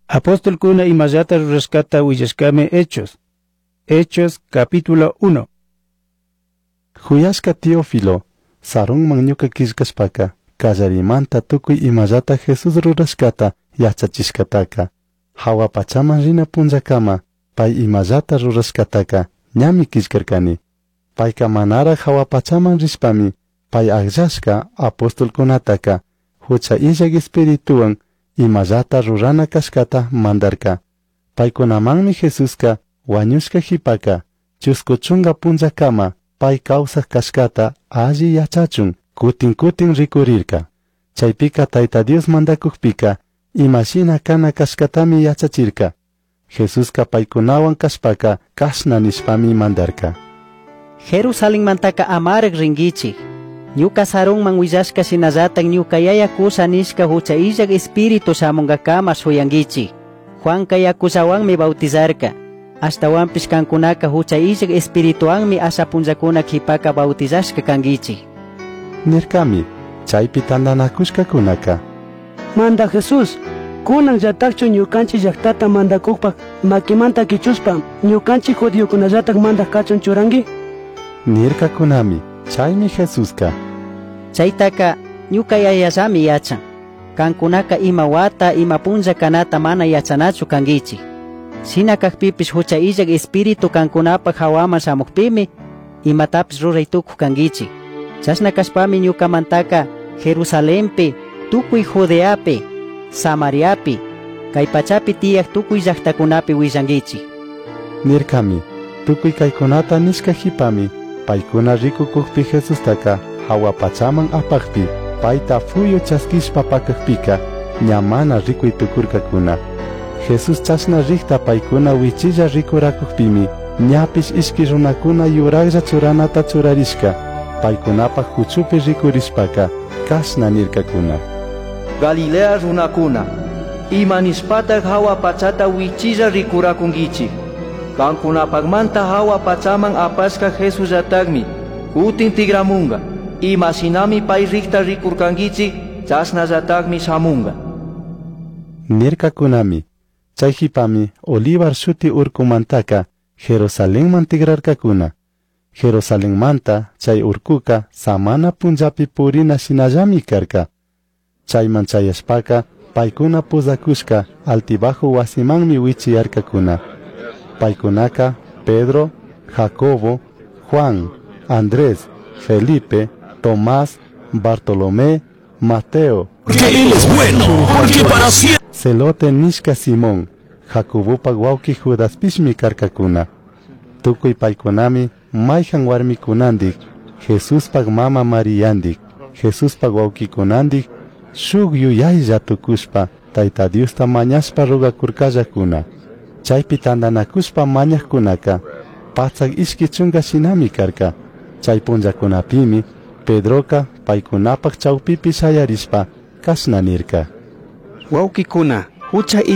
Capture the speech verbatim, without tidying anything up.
Apostolkuna imallata rurashkata willashkami Hechos. Hechos capítulo uno. Juyashka Teófilo, sarunman ñuka killkashpaka, kallarimanta tukuy imallata Jesús rurashkata yachachishkataka, hawa pachaman rina punllakama, pay imallata rurashkataka ñami killkarkani. Payka manaraj hawa pachaman rishpami, pay akllashka apostolkunataka, hucha illak espirituwan imallata rurana kashkata mandarka. Paykunamanmi Jesuska wañushka jipaka, chusku chunga punllakama, pay kawsaj kashkata alli yachachun kutin kutin rikurirka. Chaypika Tayta Dios mandakukpika imashina kana kashkatami yachachirka. Jesuska paykunawan kashpaka kashna nishpami mandarka. Jerusalenmantaka amaraj rinkichik. Ñuka sarunman willashka shinallatak ñuka yaya kusha nishka hucha illak espíritu shamunkakama shuyankichik. Juanka yakullawanmi bautizarka. Ashtawanpish kankunaka hucha illak espirituwanmi asha punllakuna qhipaka bautizashka kankichik. Nirkami, chaypi tantanakushkakunaka. Manda Jesús, kunan llatakchu ñukanchik llaqtata mandakukpak makimanta kichuspa ñukanchik judiokunallatak mandaj kachun churanki? Nirkakunami, chaymi Jesuska. Chaytaka ñuka yayallami yachan. Kankunaka ima wata ima punlla kanata mana yachanachu kankichik. Shina kakpipish hucha illak espíritu kankunapak hawaman shamukpimi imatapish ruray tukuj kankichik. Chashna kashpami ñukamantaka Jerusalenpi, tukuy Judeapi, Samariapi, kay pachapi tiyak tukuy llaqtakunapi willankichik. Nirkami, tukuy kaykunata nishka jipami, paykuna rikukukpi Jesustaka hawa pachaman apakpi, payta fuyu chaskishpa pakakpika, ña mana rikuy tukurkakuna. Jesús chashna rikta paykuna wichilla rikurakukpimi, ñapish ishki runakuna yurajlla churanata churarishka, paykunapak huchupi rikurishpaka, kashna nirkakuna. Galilea runakuna, ima nishpatak hawa pachata wichilla rikurakunkichik. Kankunapakmanta hawa pachaman apashka Jesuslatakmi, kutin tigramunga, ima shinami pay rikta rikurkankichik, chashnallatakmi shamunga. Nirkakunami, chay jipami Olivar shuti urkumantaka Jerusalenman tigrarkakuna. Jerusalenmanta chay urkuka samana punllapi purina shinallami karka. Chayman chayashpaka paykuna puzakushka altibajo wasimanmi wichiyarkakuna. Paykunaka Pedro, Jacobo, Juan, Andrés, Felipe, Tomás, Bartolomé, Mateo. Porque él es bueno, porque para siempre. Celote nishka Simón, Jacobopak wawki Judaspishmi karkakuna. Tukuy paykunami mayhan warmikunandik, Jesuspak mama Mariyandik, Jesuspak wawkikunandik, shuk yuyaylla tukushpa Tayta Diosta mañashpa rugakurkallakuna. Chaypi tantanakushpa mañajkunaka, patsak ishki chunka shinami karka. Chay punllakunapimi Pedroka paykunapak chawpipi shayarishpa kashna nirka. Wawkikuna, hucha